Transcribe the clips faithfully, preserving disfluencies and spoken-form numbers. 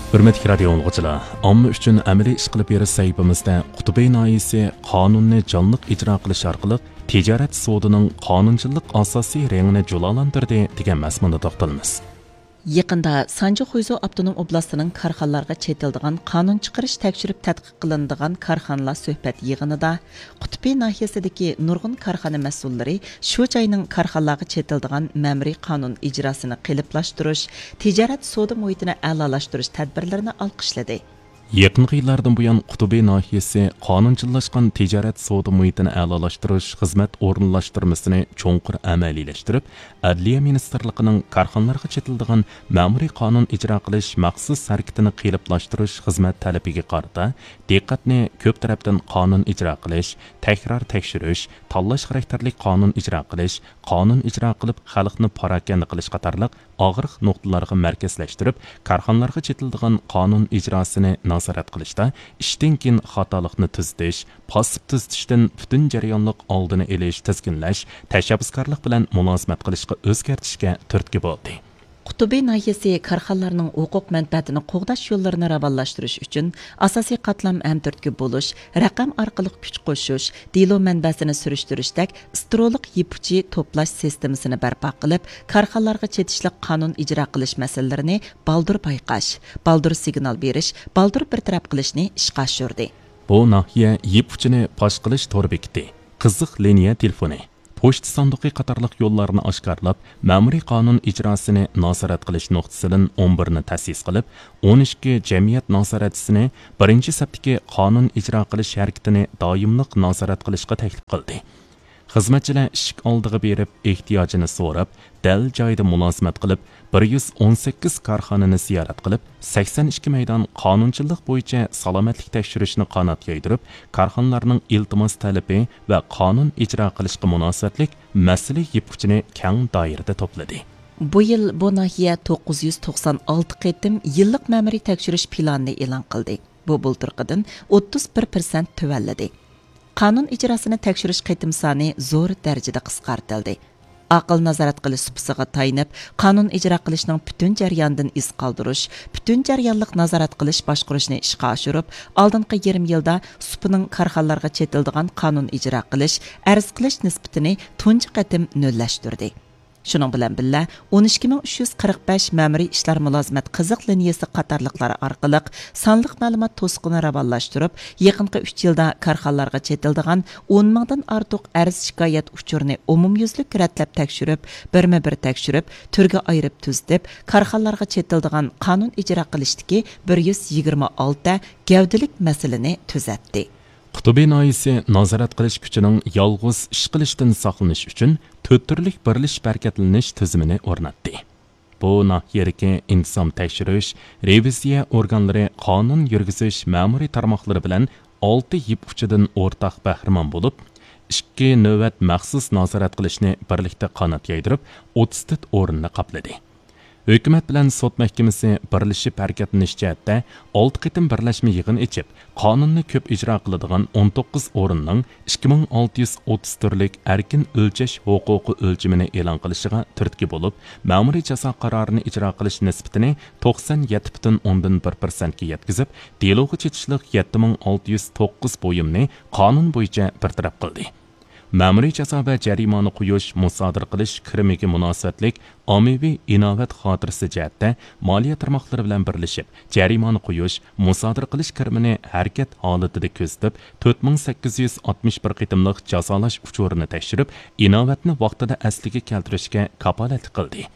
ھۆرمەتلىك رادىيو ئاڭلىغۇچىلار، ئامما ئۈچۈن ئەمەلىي ئىش قىلىپ بېرىش سەھىپىمىزدە قۇتۇبى ناھىيەسى قانۇننى جانلىق ئىجرا قىلىش ئارقىلىق تىجارەت سودىنىڭ قانۇنچىللىق ئاساسىي رېڭىنى جۇلالاندۇردى دېگەن مەزمۇندا توختىلىمىز. يېقىندا سانجى خۇيزۇ ئاپتونوم ئوبلاستىنىڭ كارخانىلارغا چېتىلىدىغان قانۇن چىقىرىش تەكشۈرۈپ تەتقىق قىلىنىدىغان كارخانىلار سۆھبەت يىغىنىدا قۇتۇپى ناھىيەسىدىكى نۇرغۇن كارخانا مەسئۇللىرى شۇ جاينىڭ كارخانىلارغا چېتىلىدىغان مەمۇرىي قانۇن ئىجراسىنى قېلىپلاشتۇرۇش، تىجارەت سودا مۇھىتىنى ئەلالاشتۇرۇش تەدبىرلىرىنى ئالقىشلىدى. يېقىنقى يىللاردىن بۇيان، قۇتۇبى ناھىيەسى قانۇنچىللاشقان تىجارەت سودا مۇھىتىنى ئەلالاشتۇرۇش خىزمەت ئورۇنلاشتۇرمىسىنى چوڭقۇر ئەمەلىيلەشتۈرۈپ، ئەدلىيە مىنىستىرلىقىنىڭ كارخانىلارغا چېتىلىدىغان مەمۇرىي قانۇن ئىجرا قىلىش مەخسۇس ھەرىكىتىنى قېلىپلاشتۇرۇش خىزمەت تەلىپىگە قارىتا، دىققەتنى كۆپ تەرەپتىن قانۇن ئىجرا قىلىش، تەكرار تەكشۈرۈش، تاللاش خاراكتېرلىك قانۇن ئىجرا قىلىش، قانۇن ئىجرا قىلىپ خەلقنى پاراكەندە قىلىش قاتارلىق ئاغرىق نۇقتىلارغا مەركەزلەشتۈرۈپ، كارخانىلارغا چېتىلىدىغان قانۇن ئىجراسىنى نازارەت قىلىشتا ئىشتىن كېيىن خاتالىقنى تۈزىتىش، پاسسىپ تۈزىتىشتىن پۈتۈن جەريانلىق ئالدىنى ئېلىش، تىزگىنلەش، تەشەببۇسكارلىق بىلەن مۇلازىمەت قىلىشقا ئۆزگەرتىشكە تۈرتكە بولدى. قۇتۇبى ناھىيەسى كارخانىلارنىڭ ھوقۇق مەنپەئەتىنى قوغداش يوللىرىنى راۋانلاشتۇرۇش ئۈچۈن ئاساسىي قاتلام ھەم تۈرتكە بولۇش، رەقەم ئارقىلىق كۈچ قوشۇش، دېلو مەنبەسىنى سۈرۈشتۈرۈشتەك ئىسترولۇق يىپ ئۇچى توپلاش سىستېمىسىنى بەرپا قىلىپ، كارخانىلارغا چېتىشلىق قانۇن ئىجرا قىلىش مەسىلىلىرىنى بالدۇر بايقاش، بالدۇر سىگنال بېرىش، بالدۇر بىر تەرەپ قىلىشنى ئىشقا ئاشۇردى. بۇ ناھىيە يىپ ئۇچىنى پاش قىلىش تور بېكىتى، قىزىق لىنىيە تېلېفونى، پوچتا ساندۇقى قاتارلىق يوللارنى ئاشكارىلاپ، مەمۇرىي قانۇن ئىجراسىنى نازارەت قىلىش نۇقتىسىدىن ئون بىرنى تەسىس قىلىپ، ئون ئىككى جەمئىيەت نازارەتچىسىنى بىرىنچى سەپتىكى قانۇن ئىجرا قىلىش ھەرىكىتىنى دائىملىق نازارەت قىلىشقا تەكلىپ قىلدى. خىزمەتچىلەر ئىشىك ئالدىغا بېرىپ، ئېھتىياجىنى سوراپ، دەل جايىدا مۇلازىمەت قىلىپ، بىر يۈز ئون سەككىز كارخانىنى زىيارەت قىلىپ، سەكسەن ئىككى مەيدان قانۇنچىللىق بويىچە سالامەتلىك تەكشۈرۈشنى قانات يايدۇرۇپ، كارخانىلارنىڭ ئىلتىماس تەلىپى ۋە قانۇن ئىجرا قىلىشقا مۇناسىۋەتلىك مەسىلە يىپ ئۇچىنى كەڭ دائىرىدە توپلىدى. بۇ يىل بۇ ناھىيە توققۇز يۈز توقسان ئالتە قېتىم يىللىق مەمۇرىي تەكشۈرۈش پىلانىنى ئېلان قىلدى. بۇ بۇلتۇرقىدىن ئوتتۇز بىر پىرسەنت تۆۋەنلىدى. قانۇن ئىجراسىنى تەكشۈرۈش قېتىم سانى زور دەرىجىدە قىسقارتىلدى. ئاقىل نازارەت قىلىش سۇپىسىغا تايىنىپ، قانۇن ئىجرا قىلىشنىڭ پۈتۈن جەريانىدىن ئىز قالدۇرۇش، پۈتۈن جەريانلىق نازارەت قىلىش باشقۇرۇشنى ئىشقا ئاشۇرۇپ، ئالدىنقى يېرىم يىلدا سۇپىنىڭ كارخانىلارغا چېتىلىدىغان قانۇن ئىجرا قىلىش، ئەرز قىلىش نىسبىتىنى تۇنجى قېتىم نۆللەشتۈردى. شۇنىڭ بىلەن بىللە، ئون ئىككى مىڭ ئۈچ يۈز قىرىق بەش مەمۇرىي ئىشلار مۇلازىمەت قىزىق لىنىيەسى قاتارلىقلار ئارقىلىق سانلىق مەلۇمات توسۇقىنى راۋانلاشتۇرۇپ، يېقىنقى ئۈچ يىلدا كارخانىلارغا چېتىلىدىغان ئون مىڭدىن ئارتۇق ئەرز شىكايەت ئۇچۇرىنى ئومۇميۈزلۈك رەتلەپ تەكشۈرۈپ، بىرمۇ بىر تەكشۈرۈپ، تۈرگە ئايرىپ تۈزىتىپ، كارخانىلارغا چېتىلىدىغان قانۇن ئىجرا قىلىشتىكى بىر يۈز يىگىرمە ئالتە گەۋدىلىك مەسىلىنى تۈزەتتى. قۇتۇبى ناھىيەسى نازارەت قىلىش كۈچىنىڭ يالغۇز ئىش قىلىشتىن ساقلىنىش ئۈچۈن تۆت تۈرلۈك بىرلىشىپ ھەرىكەتلىنىش تۈزۈمىنى ئورناتتى. بۇ ناھىيەدىكى ئىنتىزام تەكشۈرۈش، رېۋىزىيە ئورگانلىرى قانۇن يۈرگۈزۈش مەمۇرىي تارماقلىرى بىلەن ئالتە يىپ ئۇچىدىن ئورتاق بەھرىمەن بولۇپ، ئىككى نۆۋەت مەخسۇس نازارەت قىلىشنى بىرلىكتە قانات يايدۇرۇپ، ئوتتۇز تۆت ئورۇننى قاپلىدى. ھۆكۈمەت بىلەن سوت مەھكىمىسى بىرلىشىپ ھەرىكەتلىنىش جەھەتتە ئالتە قېتىم بىرلەشمە يىغىن ئېچىپ، قانۇننى كۆپ ئىجرا قىلىدىغان ئون توققۇز ئورۇننىڭ ئىككى مىڭ ئالتە يۈز ئوتتۇز تۈرلۈك ئەركىن ئۆلچەش ھوقۇقى ئۆلچىمىنى ئېلان قىلىشىغا تۈرتكە بولۇپ، مەمۇرىي جازا قارارىنى ئىجرا قىلىش نىسبىتىنى توقسان يەتتە پۈتۈن ئوندىن بىر پىرسەنتكە يەتكۈزۈپ، دېلوغا چېتىشلىق يەتتە مىڭ ئالتە يۈز توققۇز بۇيۇمنى قانۇن بويىچە بىر تەرەپ قىلدى. مەمۇرىي جازا ۋە جەرىمانە قويۇش، مۇسادىرە قىلىش كىرىمىگە مۇناسىۋەتلىك ئاممىۋى ئىناۋەت خاتىرىسى جەھەتتە مالىيە تارماقلىرى بىلەن بىرلىشىپ، جەرىمانە قويۇش، مۇسادىرە قىلىش كىرىمىنى ھەرىكەت ھالىتىدە كۆزىتىپ، تۆت مىڭ سەككىز يۈز ئاتمىش بىر قېتىملىق جازالاش ئۇچۇرىنى تەكشۈرۈپ، ئىناۋەتنى ۋاقتىدا ئەسلىگە كەلتۈرۈشكە كاپالەتلىك قىلدى.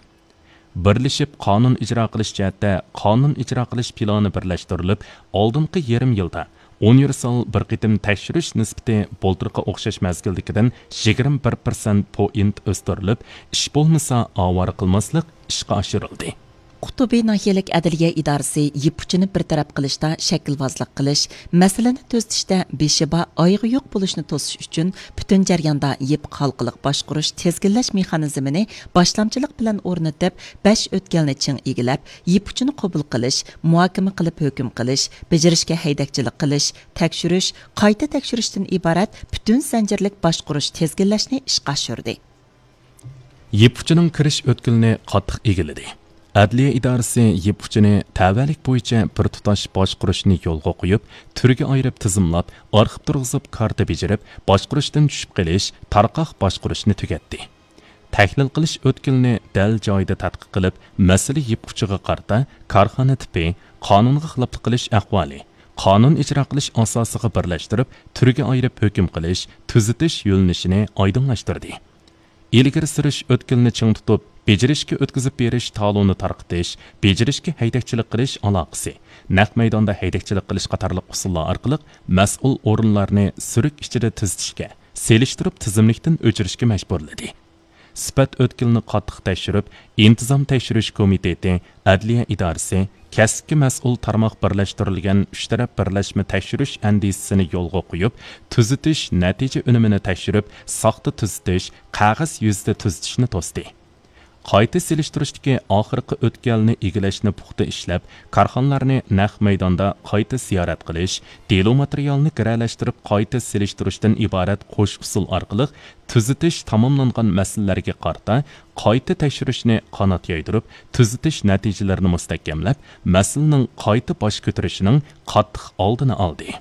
بىرلىشىپ قانۇن ئىجرا قىلىش جەھەتتە قانۇن ئىجرا قىلىش پىلانى بىرلەشتۈرۈلۈپ، ئالدىنقى يېرىم يىلدا ئۇنىۋېرسال بىر قېتىم تەكشۈرۈش نىسبىتى بۇلتۇرقى ئوخشاش مەزگىلدىكىدىن يىگىرمە بىر پىرسەنت پوينت ئۆستۈرۈلۈپ، ئىش بولمىسا ئاۋارە قىلماسلىق ئىشقا ئاشۇرۇلدى. قۇتۇبى ناھىيەلىك ئەدلىيە ئىدارىسى يىپ ئۇچىنى بىر تەرەپ قىلىشتا شەكىلۋازلىق قىلىش، مەسىلىنى تۈزىتىشتە بېشى بار، ئايىغى يوق بولۇشنى توسۇش ئۈچۈن پۈتۈن جەرياندا يىپ ھالقىلىق باشقۇرۇش، تىزگىنلەش مېخانىزمىنى باشلامچىلىق بىلەن ئورنىتىپ، بەش ئۆتكەلنى چىڭ ئىگىلەپ، يىپ ئۇچىنى قوبۇل قىلىش، مۇھاكىمە قىلىپ ھۆكۈم قىلىش، بېجىرىشكە ھەيدەكچىلىك قىلىش، تەكشۈرۈش، قايتا تەكشۈرۈشتىن ئىبارەت پۈتۈن زەنجىرلىك باشقۇرۇش، تىزگىنلەشنى ئىشقا ئاشۇردى. يىپ ئۇچىنىڭ كىرىش ئۆتكىلىنى قاتتىق ئىگىلىدى. ئەدلىيە ئىدارىسى يىپ ئۇچىنى تەۋەلىك بويىچە بىر تۇتاش باشقۇرۇشنى يولغا قويۇپ، تۈرگە ئايرىپ تىزىملاپ، ئارخىپ تۇرغۇزۇپ كارتا بېجىرىپ، باشقۇرۇشتىن چۈشۈپ قېلىش، تارقاق باشقۇرۇشنى تۈگەتتى. تەھلىل قىلىش ئۆتكىلىنى دەل جايىدا تەتقىق قىلىپ، مەسىلە يىپ ئۇچىغا قارىتا كارخانا تىپى، قانۇنغا خىلاپلىق قىلىش ئەھۋالى، قانۇن ئىجرا قىلىش ئاساسىغا بىرلەشتۈرۈپ، تۈرگە ئايرىپ ھۆكۈم قىلىش، تۈزىتىش يۆنىلىشىنى ئايدىڭلاشتۇردى. ئىلگىرى سۈرۈش ئۆتكىلىنى چىڭ تۇتۇپ، بېجىرىشكە ئۆتكۈزۈپ بېرىش تالونى تارقىتىش، بېجىرىشكە ھەيدەكچىلىك قىلىش ئالاقىسى، نەق مەيداندا ھەيدەكچىلىك قىلىش قاتارلىق ئۇسۇللار ئارقىلىق مەسئۇل ئورۇنلارنى سۈرۈك ئىچىدە تۈزىتىشكە، سېلىشتۇرۇپ تىزىملىكتىن ئۆچۈرۈشكە مەجبۇرلىدى. سۈپەت ئۆتكىلىنى قاتتىق تەكشۈرۈپ، ئىنتىزام تەكشۈرۈش كومىتېتى، ئەدلىيە ئىدارىسى، كەسىپكە مەسئۇل تارماق بىرلەشتۈرۈلگەن ئۈچ تەرەپ بىرلەشمە تەكشۈرۈش ئەندىزىسىنى يولغا قويۇپ، تۈزىتىش نەتىجە ئۈنۈمىنى تەكشۈرۈپ، ساختا تۈزىتىش، قەغەز يۈزىدە تۈزىتىشنى توستى. قايتا سېلىشتۇرۇشتىكى ئاخىرقى ئۆتكەلنى ئىگىلەشنى پۇختا ئىشلەپ، كارخانىلارنى نەق مەيداندا قايتا زىيارەت قىلىش، دېلو ماتېرىيالنى گىرەلەشتۈرۈپ قايتا سېلىشتۇرۇشتىن ئىبارەت قوش ئۇسۇل ئارقىلىق تۈزىتىش تاماملانغان مەسىلىلەرگە قارىتا قايتا تەكشۈرۈشنى قانات يايدۇرۇپ، تۈزىتىش نەتىجىلىرىنى مۇستەھكەملەپ، مەسىلىنىڭ قايتا باش كۆتۈرۈشىنىڭ قاتتىق ئالدىنى ئالدى.